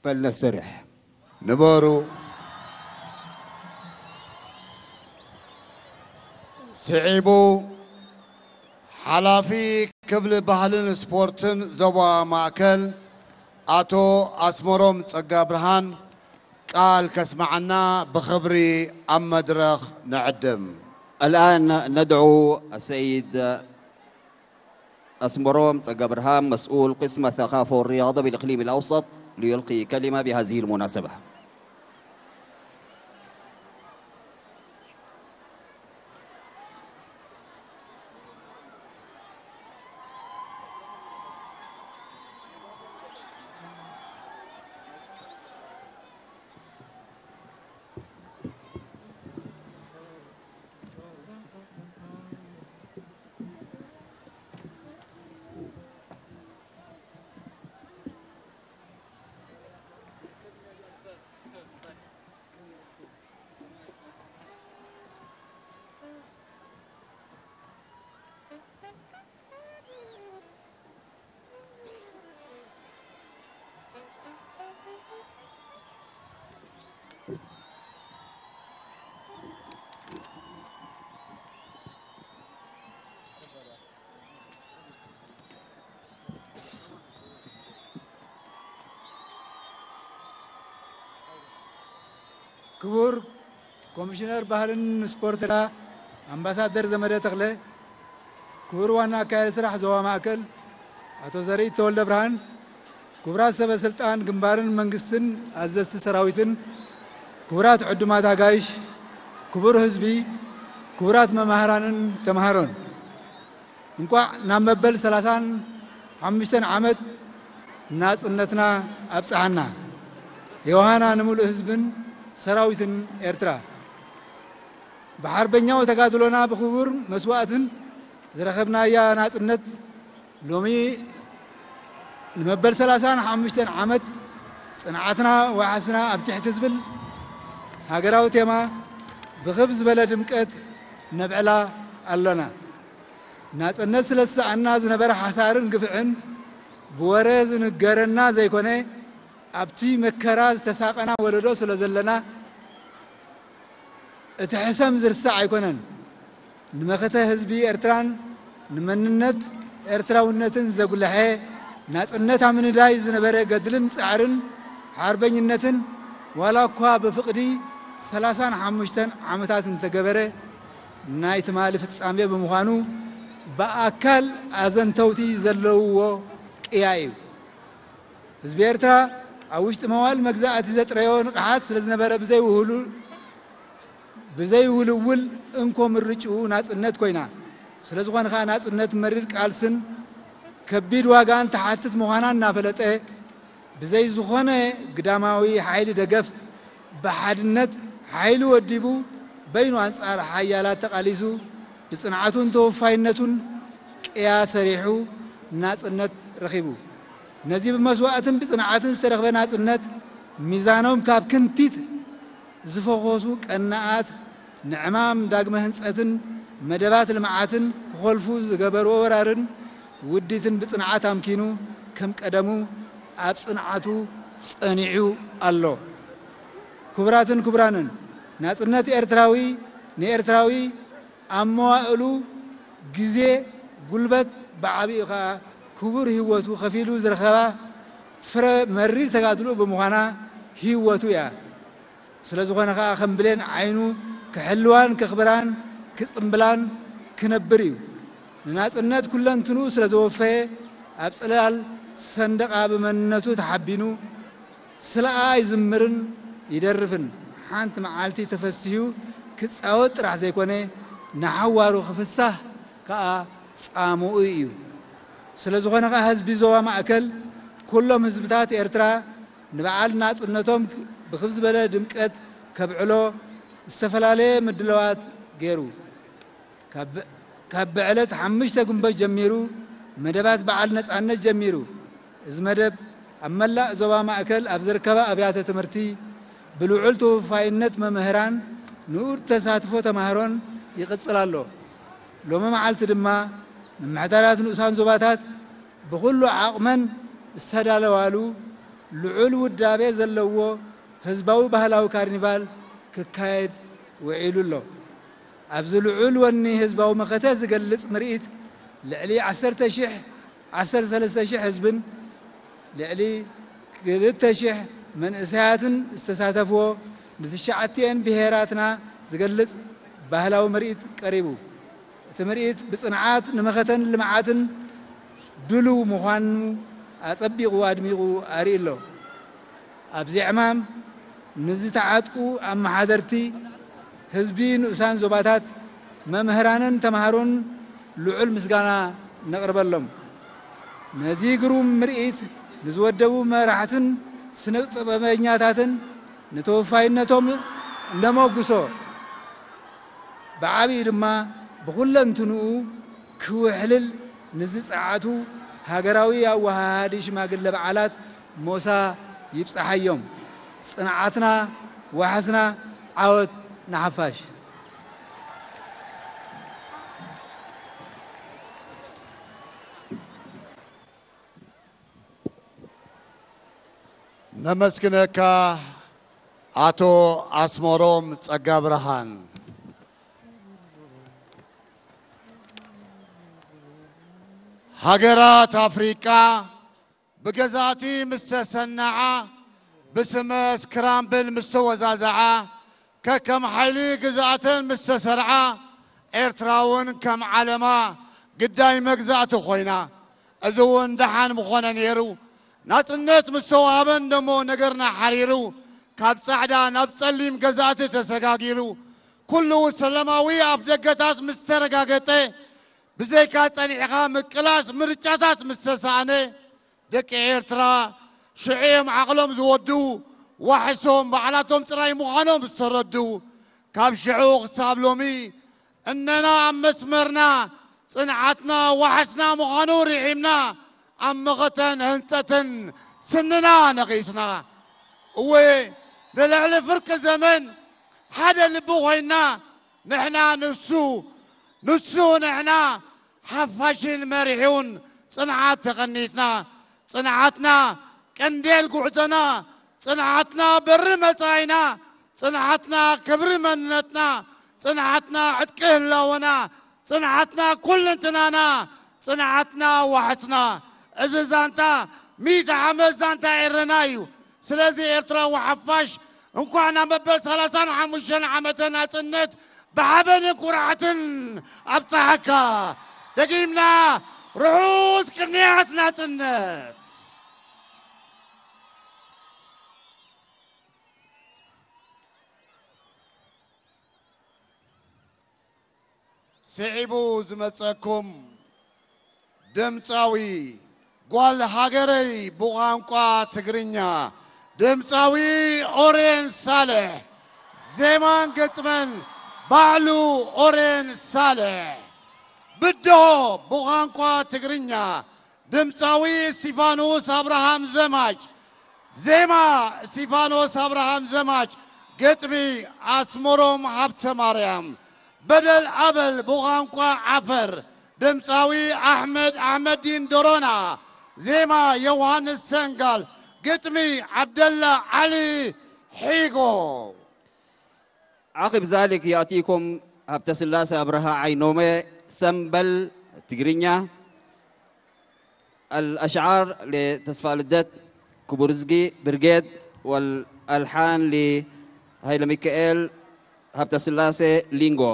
በል ነሰርሕ። ንበሩ። ስዒቡ፣ ሓላፊ ክፍሊ ባህልን ስፖርትን ዞባ ማእከል ኣቶ ኣስመሮም ጸጋብርሃን ቃል ከስምዓና ብኽብሪ ኣብ መድረኽ ንዕድም። الآن ندعو السيد أسمروم تقبرهام، مسؤول قسم الثقافة والرياضة بالإقليم الأوسط، ليلقي كلمة بهذه المناسبة. ክቡር ኮሚሽነር ባህልን ስፖርት ኤርትራ ኣምባሳደር ዘመደ ተኽለ፣ ክቡር ዋና ኣካያዲ ስራሕ ዞባ ማእከል ኣቶ ዘርኢ ተወልደ ብርሃን፣ ክቡራት ሰበ ስልጣን ግንባርን መንግስትን፣ ኣዘዝቲ ሰራዊትን፣ ክቡራት ዕዱማት ኣጋይሽ፣ ክቡር ህዝቢ፣ ክቡራት መማህራንን ተማሃሮን፣ እንቋዕ ናብ መበል ሰላሳን ሓሙሽተን ዓመት ናጽነትና ኣብጽሓና። ዮሃና ንምሉእ ህዝብን ሰራዊትን ኤርትራ። ብሓርበኛዊ ተጋድሎና ብኽቡር መስዋእትን ዝረኸብናያ ናጽነት ሎሚ ንመበል ሰላሳን ሓሙሽተን ዓመት ጽንዓትና ዋሕስና ኣብ ትሕቲ ዝብል ሃገራዊ ቴማ ብኽብ ዝበለ ድምቀት ነብዕላ ኣሎና። ናጽነት ስለ ዝሰኣና ዝነበረ ሓሳርን ግፍዕን ብወረ ዝንገረና ዘይኮነ፣ ኣብቲ መከራ ዝተሳቐና ወለዶ ስለ ዘለና፣ እቲ ሕሰም ዝርሳዕ ኣይኮነን። ንመኸተ ህዝቢ ኤርትራን ንመንነት ኤርትራውነትን ዘጉልሐ፣ ናጽነት ኣብ ምንዳይ ዝነበረ ገድልን ጻዕርን ሓርበኝነትን፣ ዋላ እኳ ብፍቕዲ ሰላሳን ሓሙሽተን ዓመታት እንተገበረ፣ ናይ ትማሊ ፍጻሜ ብምዃኑ ብኣካል ኣዘንተውቲ ዘለውዎ ቅያ እዩ። ህዝቢ ኤርትራ ኣብ ውሽጢ መዋል መግዛእቲ ዘጥረዮ ንቕሓት ስለ ዝነበረ ብዘይውህሉ ብዘይውልውል እንኮ ምርጭኡ ናጽነት ኮይና። ስለ ዝኾነ ከኣ ናጽነት መሪር ቃልስን ከቢድ ዋጋን ትሓትት ምዃና እናፈለጠ ብዘይ ዝኾነ ግዳማዊ ሓይሊ ደገፍ ብሓድነት ሓይሉ ወዲቡ በይኑ ኣንጻር ሓያላት ተቓሊሱ ብጽንዓቱን ተወፋይነቱን ቅያ ሰሪሑ ናጽነት ረኺቡ። ነዚ ብመስዋእትን ብጽንዓትን ዝተረኽበ ናጽነት ሚዛኖም ካብ ክንቲት ዝፈኾሱ ቀናኣት ንዕማም ዳግመ ህንጸትን መደባት ልምዓትን ክኾልፉ ዝገበርዎ ወራርን ውዲትን ብጽንዓት ኣምኪኑ ከም ቀደሙ ኣብ ጽንዓቱ ጸኒዑ ኣሎ። ክቡራትን ክቡራንን፣ ናጽነት ኤርትራዊ ንኤርትራዊ ኣብ መዋእሉ ግዜ፣ ጉልበት፣ ብዓቢኡ ከኣ ክቡር ህይወቱ ከፊሉ ዝረኸባ ፍረ መሪር ተጋድልኡ ብምዃና ህይወቱ እያ። ስለ ዝኾነ ከኣ ከም ብሌን ዓይኑ ክሕልዋን ከኽብራን ክጽምብላን ክነብር እዩ። ንናጽነት ኩለንትንኡ ስለ ዘወፈየ ኣብ ጽላል ሰንደቓ ብመንነቱ ተሓቢኑ ስለኣ ይዝምርን ይደርፍን፣ ሓንቲ መዓልቲ ተፈሲሑ ክጻወት ጥራሕ ዘይኮነ ንሓዋሩ ክፍሳህ ከኣ ጻምኡ እዩ። ስለ ዝኾነ ከኣ ህዝቢ ዞባ ማእከል ኩሎም ህዝብታት ኤርትራ ንበዓል ናጽነቶም ብኽብ ዝበለ ድምቀት ከብዕሎ ዝተፈላለየ ምድላዋት ገይሩ። ካብ ብዕለት ሓሙሽተ ግንቦት ጀሚሩ መደባት በዓል ነጻነት ጀሚሩ። እዚ መደብ ኣብ መላእ ዞባ ማእከል ኣብ ዝርከባ ኣብያተ ትምህርቲ ብልዑል ተወፋይነት መምህራን ንኡድ ተሳትፎ ተማሃሮን ይቕጽል ኣሎ። ሎሚ መዓልቲ ድማ ምምሕዳራት ንኡሳን ዞባታት ብኹሉ ዓቕመን ዝተዳለዋሉ ልዑል ውዳቤ ዘለዎ ህዝባዊ ባህላዊ ካርኒቫል ክካየድ ውዒሉ ኣሎ። ኣብዚ ልዑል ወኒ ህዝባዊ መኸተ ዝገልጽ ምርኢት ልዕሊ ዓሰርተ ሽሕ፣ ዓሰርተ ሰለስተ ሽሕ ህዝብን ልዕሊ ክልተ ሽሕ መንእሰያትን ዝተሳተፍዎ ንትሽዓቲኤን ብሄራትና ዝገልጽ ባህላዊ ምርኢት ቀሪቡ። እቲ ምርኢት ብጽንዓት ንመኸተን ልምዓትን ድሉው ምዃኑ ኣጸቢቑ ኣድሚቑ ኣርእዩ ኣሎ። ኣብዚ ዕማም ንዝተዓጥቁ ኣመሓደርቲ ህዝቢ ንኡሳን ዞባታት፣ መምህራንን ተምሃሮን ልዑል ምስጋና ነቕርበሎም። ነዚ ግሩም ምርኢት ንዝወደቡ መራሕትን ስነ ጥበበኛታትን ንተወፋይነቶም እነመጉሶ። ብዓቢኡ ድማ ብኹለንትንኡ ክውሕልል ንዝጸዓቱ ሃገራዊ ኣወሃሃዲ ሽማግለ በዓላት ሞሳ ይብጻሓዮም። ጽንዓትና ዋሕስና፣ ዓወት ንሓፋሽ። ነመስግነካ ኣቶ ኣስመሮም ጸጋብርሃን። ሃገራት ኣፍሪቃ ብገዛእቲ ምስ ተሰነዓ፣ ብስመ ስክራምብል ምስ ተወዛዘዓ፣ ከከም ሓይሊ ግዝኣተን ምስ ተሰርዓ፣ ኤርትራ እውን ከም ዓለማ ግዳይ መግዛእቲ ኮይና። እዚ እውን ደሓን ምኾነ ነይሩ። ናጽነት ምስ ተዋህበን ደሞ ነገርና ሓሪሩ፣ ካብ ጻዕዳ ናብ ጸሊም ገዛእቲ ተሰጋጊሩ፣ ኩሉ ሰላማዊ ኣፍደገታት ምስ ተረጋገጠ፣ ብዘይካ ጸኒዕኻ ምቅላስ ምርጫታት ምስ ተሳእነ፣ ደቂ ኤርትራ ሽዑ እዮም ዓቕሎም ዝወድኡ፣ ዋሕሶም ባዕላቶም ጥራይ ምዃኖም ዝተረድኡ። ካብ ሽዑ ክሳብ ሎሚ እነና ኣብ መስመርና፣ ጽንዓትና ዋሕስና ምዃኑ ርሒምና፣ ኣብ መኸተን ህንጸትን ስንና ነቒስና። እወ፣ ንልዕሊ ፍርቂ ዘመን ሓደ ልቢ ኮይንና፣ ንሕና ንሱ፣ ንሱ ንሕና፣ ሓፋሽን መሪሑን ጽንዓት ተቐኒትና። ጽንዓትና ቀንዴል ጉዕዞና፣ ጽንዓትና በሪ መጻኢና፣ ጽንዓትና ክብሪ መንነትና፣ ጽንዓትና ዕጥቂ ህላወና፣ ጽንዓትና ኩልንትናና፣ ጽንዓትና ዋሕስና። እዚ ዛንታ ሚእቲ ዓመት ዛንታ ኤረና እዩ። ስለዚ ኤርትራዊ ሓፋሽ እንኳዕ ናብ መበል ሰላሳን ሓሙሽተን ዓመተ ናጽነት ብሓበንን ኩርዓትን ኣብጽሓካ። ደጊምና ርሑስ ቅንያት ናጽነት። ስዒቡ ዝመጸኩም ድምጻዊ ጓል ሃገረይ ብቋንቋ ትግርኛ ድምጻዊ ኦሬን ሳልሕ፣ ዜማን ግጥምን ባዕሉ ኦሬን ሳልሕ። ብድሆ ብቋንቋ ትግርኛ ድምጻዊ እስቲፋኖስ ኣብርሃም ዘማች፣ ዜማ እስቲፋኖስ ኣብርሃም ዘማች፣ ግጥሚ ኣስመሮም ሃብተ ማርያም። በደል ኣበል ብቋንቋ ዓፈር ድምጻዊ ኣሕመድ ኣሕመዲን ዶሮና፣ ዜማ ዮውሃንስ ሰንጋል፣ ግጥሚ ዓብደላ ዓሊ ሒጎ። عقب ذلك يأتيكم هبتسلاسة أبرهة عينومي سمبل تقرينيا. الأشعار لتسفى لدت كبرزقي برقيد، والألحان لهيلا ميكائيل هبتسلاسة لينغو.